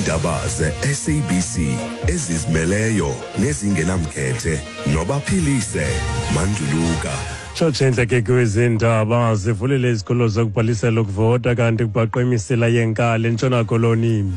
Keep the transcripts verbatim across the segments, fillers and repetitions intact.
Iindaba ze-S A B C ezizimeleyo nezingenamkhethe noBaphilise Manduluka. Tshotshendle ke kwezindaba, zivulile izikolo zokubhalisela ukuvota, kanti kubhaqwe imisila yenkali eNtshona Koloni.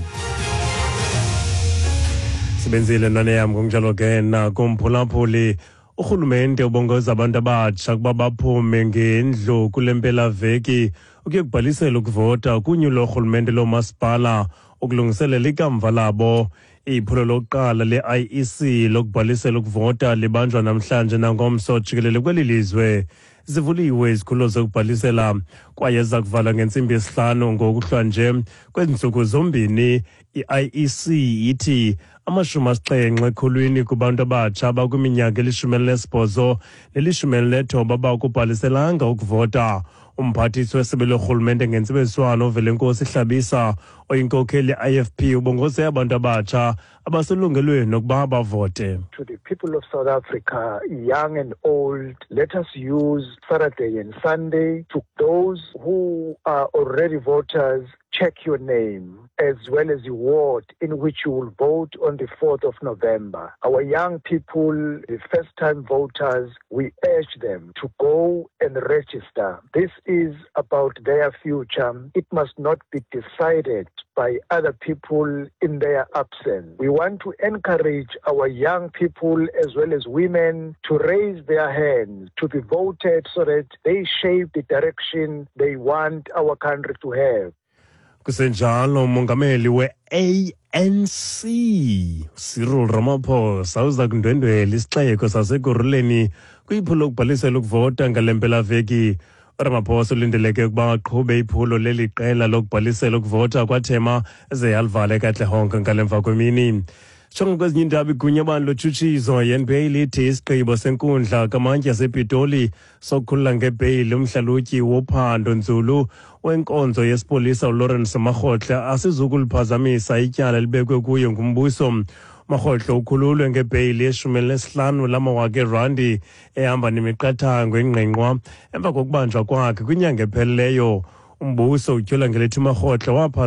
Sebenzile ntwana yam. Ngokunjalo ke nakumphulaphuli, urhulumente ubongoza abantu abatsha ukuba baphume ngendlu kule mpelaveki ukuye kubhalisela ukuvota kunyulo lorhulumente loomasipala ukulungiselela ikamva labo. Iphulo lokuqala le-I E C lokubhalisela ukuvota libanjwa namhlanje nangomso jikelele kweli lizwe. Zivuliwe izikhululo zokubhalisela kwaye ziza kuvalwa ngentsimbi yesihlanu ngokuhlwa nje kwezi ntsuku zombini. I-I E C ithi amashumi asixhenxe ekhulwini kubantu abatsha abakwiminyaka elishumi elinesibhozo nelishumi elinethoba bakubhaliselanga ukuvota. Umphathiswa wesebe lorhulumente ngentsebenziswano uVelenkosi Hlabisa, oyinkokheli i-I F P, ubongoze abantu abatsha abaselungelweni nokuba bavote. To the people of South Africa, young and old, let us use Saturday and Sunday. To those who are already voters, check your name as well as the ward in which you will vote on the fourth of November. Our young people, the first time voters, we urge them to go and register. This is about their future. It must not be decided by other people in their absence. We want to encourage our young people as well as women to raise their hands, to be voted so that they shape the direction they want our country to have. Kusenjalo, umongameli we-A N C Cyril Ramaphosa uza kundwendwela isixeko saseKurhuleni kwiphulo lokubhalisela ukuvota ngale mpelaveki. URamaphosa ulindeleke ukuba aqhube iphulo leli qela lokubhalisela ukuvota kwaThema ze alivale eKatlehong ngale mva kwemini. Jonga kwezinye iindaba, igunya lotshutshiso i-N P A lithi isigqibo senkundla kamantyi yasePitoli sokukhulula ngebheyili umhlalutyi wophando nzulu wenkonzo yesipolisa uLawrence Makgotle asizukuliphazamisa ityala elibekwe kuye ngumbuso. Makgotle ukhululwe ngebheyili yeshumi elinesihlanu lamawaka erandi ehamba nemiqathango engqingqwa emva kokubanjwa kwakhe kwinyanga ephelileyo. Umbuso utyhola ngelithi uMakgotle waphaza